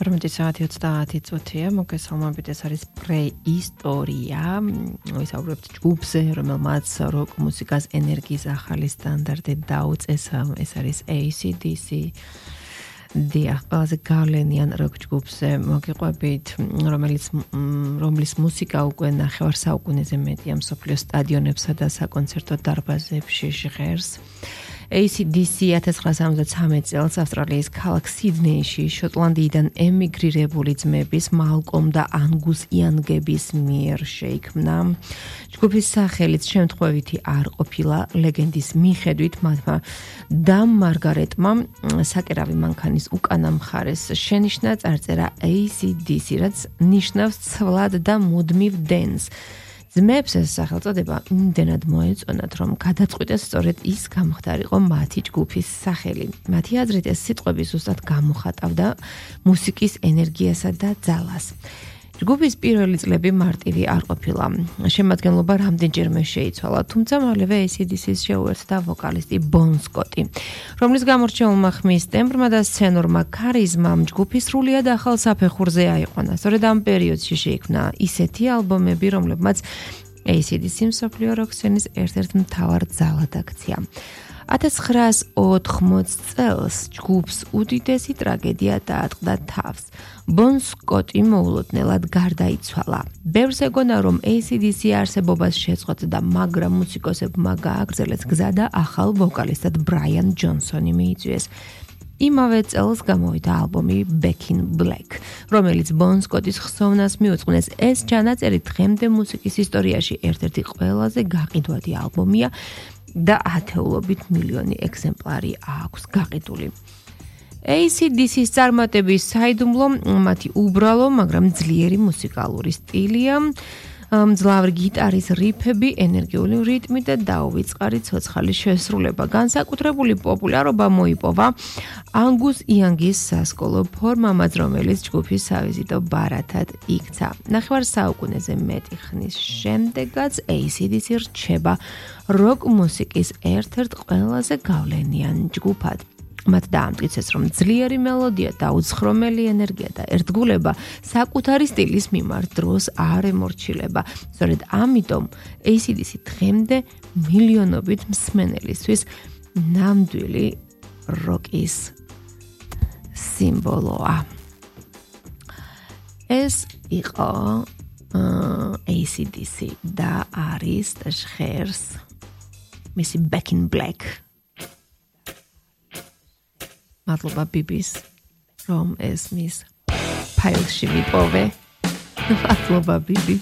18:30 მოგესალმებით, ეს არის პრეისტორია. ვისაუბრებთ ჯგუფზე, რომელმაც როკ მუსიკას ენერგიის ახალი სტანდარტი დაუწეს. ეს არის AC/DC. დიახ, ყველაზე გავლენიან როკ ჯგუფზე მოგიყვებით, რომლის მუსიკა უკვე 9 საუკუნეზე მეტია მსოფლიოს სტადიონებსა და საკონცერტო დარბაზებში ჟღერს. AC/DC 1973 წელს ავსტრალიის ქალაქ სიდნეიში შოტლანდიიდან ემიგრირებული ძმების მალკომ დაანგუს იანგების მიერ შეიქმნა. ჯგუფის სახელიც შემთხვევითი არ ყოფილა, ლეგენდის მიხედვით მათმა და მარგარეტმა საკერავი მანქანის უკანა მხარეს შენიშნა წარწერა AC/DC, რაც ნიშნავს ცვლად და მუდმივ დენს. ძმებს ეს სახელწოდება იმდენად მოეწონათ, რომ გადაწყვიტეს სწორედ ის გამხდარიყო მათი ჯგუფის სახელი. მათი აზრით ეს სიტყვები ზუსტად გამოხატავდა მუსიკის ენერგიასა და ძალას. ჯგუფის პირველი წლები მარტივი არ ყოფილა. შემადგენლობა რამდენჯერმე შეიცვალა, თუმცა მალევე AC/DC-ს შეუერთდა ვოკალისტი ბონ სკოტი, რომლის გამორჩეულმა ხმის ტემბრმა და სცენურმა ქარიზმამ ჯგუფი სრულიად ახალ საფეხურზე აიყვანა. სწორედ ამ პერიოდში შეიქმნა ისეთი ალბომები, რომლებმაც AC/DC მსოფლიო როკ სცენის ერთ-ერთ მთავარ ძალად აქცია. 1980 წელს ჯგუფს უდიდესი ტრაგედია დაატყდა თავს. ბონ სკოტი მოულოდნელად გარდაიცვალა. ბევრს ეგონა, რომ AC/DC არსებობას შეწყვეტდა, მაგრამ მუსიკოსებმა გააგრძელეს გზა და ახალ ვოკალისტად ბრაიან ჯონსონი მიიწვიეს. იმავე წელს გამოვიდა ალბომი Back in Black, რომელიც ბონ სკოტის ხსოვნას მიუძღვნეს. ეს ჩანაწერი დღემდე მუსიკის ისტორიაში ერთ-ერთი ყველაზე გაყიდვადი ალბომია და ათეულობით მილიონი ეგზემპლარი აქვს გაყიდული. AC/DC-ს წარმატების საიდუმლო მათი უბრალო, მაგრამ ძლიერი მუსიკალური სტილია, მძლავრი გიტარის რიფები, ენერგიული რიტმი და დაუვიწყარი ცოცხალი შესრულება. განსაკუთრებული პოპულარობა მოიპოვაანგუს იანგის სასკოლო ფორმამაც, რომელიც ჯგუფის სავიზიტო ბარათად იქცა. 9 საუკუნეზე მეტი ხნის შემდეგაც AC/DC რჩება როკ მუსიკის ერთ-ერთ ყველაზე გავლენიან ჯგუფად. მათ დაამტკიცეს, რომ ძლიერი მელოდია, დაუცხრომელი ენერგია და ერთგულება საკუთარი სტილის მიმართ დროს არ ემორჩილება. სწორედ ამიტომ AC/DC დღემდე მილიონობით მსმენელისთვის ნამდვილი როკის სიმბოლოა. ეს იყო AC/DC და არის ჟღერს მისი Back in Black. მადლობა ბიბის, რომ ეს მის ფაილში მიპოვე. მადლობა ბიბი.